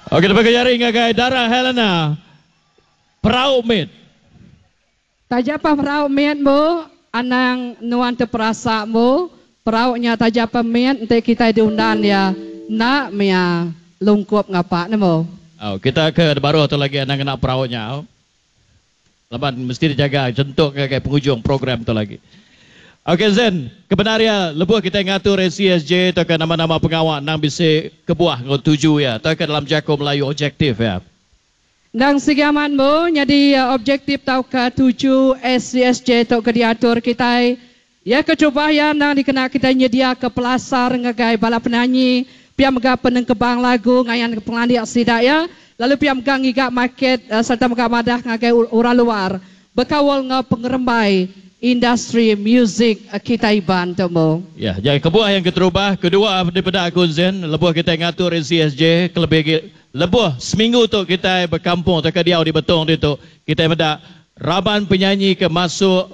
Okey deka jari ngagai Dara Helena Perau Mit. Taja pa perau mit mu anang nuan teperasa mu perau nya taja pa mit enti kitai diundan iya enda mia lungkup ngapa nemu. Au kita ke baruh tu lagi anang ngena perau nya au. Laban mesti dijaga chentuk ngagai pengujung program tu lagi. Ok Zen, kebenar iya lebuh kitai ngatur ACSJ tauka nama-nama pengawa endang bisi kebuah enggau tuju iya tauka dalam jaku Melayu objektif iya. Endang sigi amat embu nyadi objektif tauka tuju ACSJ tu ke diatur kitai. Iya keterubah iya endang dikena kitai nyediaka pelasar ngagai bala penanyi pia mega penengkebang lagu ngayanka pengelandik sida iya lalu pia mega ngiga market sereta mega madah ngagai orang luar Bekaul enggau pengerembai industri muzik kitai Iban tu embu. Ya, nya kebuah yang keterubah, kedua dipeda aku Zen, lebuh kitai ngatur ACSJ kelebih agi lebuh seminggu tu kitai bekampung tauka diau di Betong ditu, kitai meda raban penyanyi ke masuk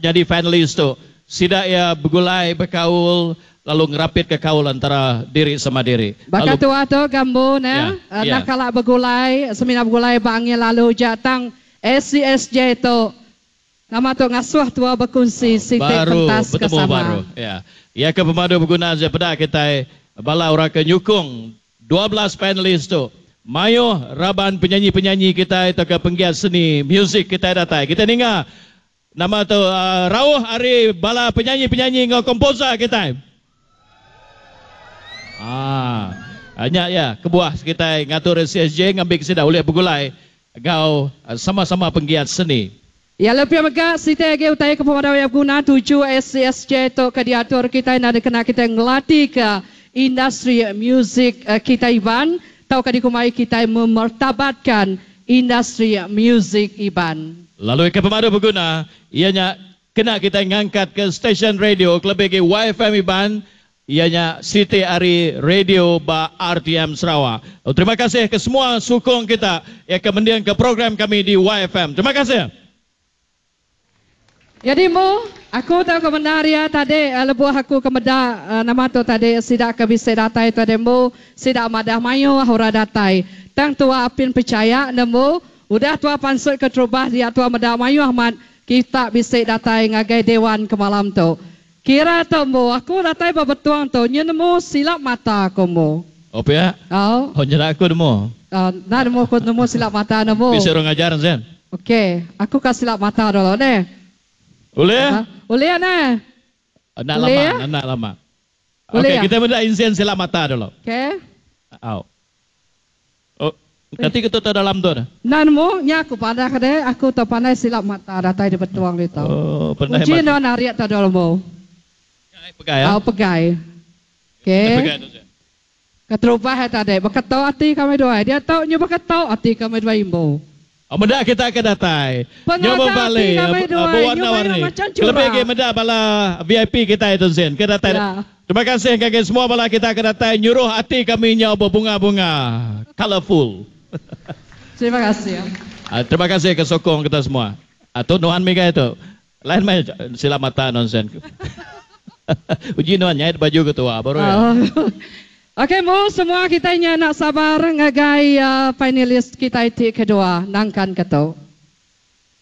nyadi finalis tu, sida iya begulai bekaul lalu ngerapitka kaul antara diri sama diri. Baka Lalu tua tu ga embu ne, Ya, enda ya. kala begulai, semina begulai ba angin lalu ja tang ACSJ tu nama tu ngasuh tua bekunsi siti Baru pentas ke betemu sama. baru. Ya. Iya ke pemadu beguna je peda kitai bala orang ke nyukung 12 panelis tu. Mayuh raban penyanyi-penyanyi kitai tauka penggiat seni muzik kitai datai. Kitai ninga nama tu rauh ari bala penyanyi-penyanyi enggau komposer kitai. Haa. Nya iya kebuah kitai ngatur ACSJ ngambi ke sida ulih begulai Enggau sama-sama penggiat seni. Iya lebih mega siti agi utai ke pemadu iya beguna tuju ACSJ tu ke diatur kitai enda dikena kitai ngelatika industri muzik kitai Iban tauka dikumbai kitai memertabatkan industri muzik Iban. Lalu ke pemadu beguna iya nya kena kitai ngangkatka stesen radio kelebih agi YFM Iban Iya nya siti ari radio ba RTM Sarawak. Lalu terima kasih ke semua sukung kita iya ke mendingka program kami di YFM. Terima kasih. Nyadi embu, aku tau ke bendar iya tadi lebuh aku ke meda nama tu tadi sida ke bisi datai tadi embu sida madah mayuh orang datai. Tang tua apin pechaya nemu udah tua pansut ke terubah dia tua meda mayuh amat kita bisi datai ngagai dewan ke malam tu. Kira tu embu, aku datai ba Betong tu nyu nemu silap mata aku embu. Oh pia? Au. Oh nyeda aku nemu. Au, enda nemu aku nemu silap mata nemu. Bisi orang ngajar Zen. Ok, aku ka silap mata dulu neh. Ulih? Ulih neh. Enda lama, enda lama. Ulih. Ok, kita meda Inzen silap mata dulu. Ok. Au. Oh, kati ke tu tau dalam tu dah? Enda nemu, nya aku padah ke deh, aku tau pandai silap mata datai di Betong ditu. Oh, pandai Uji mata. endur narik tau dulu embu. Pegai, pegai ah. Au pegai. Ok. Pegai tu sia. Keterubah iya tadi, beketo ati kami duai. Diatu nyu beketo ati kami duai imbu. Oh, meda kita ke datai. Nyu Pengaga ati bebali kami duai nyu mayuh bewarna-warni. macam Kelebih agi chura. meda bala VIP kitai tu sin ke datai. Ya. Terima kasih ngagai semua bala kita ke datai nyuruh ati kami nyau bebunga-bunga. Colourful. Terima kasih. Terima kasih ke sokong kita semua. Tu nuan migai tu. Lain meh silap mata nonsen. Uji nuan nyait baju ke tua baru iya. Ok mu semua kitai nya enda sabar ngagai finalis kitai ti kedua nangkan ke tu.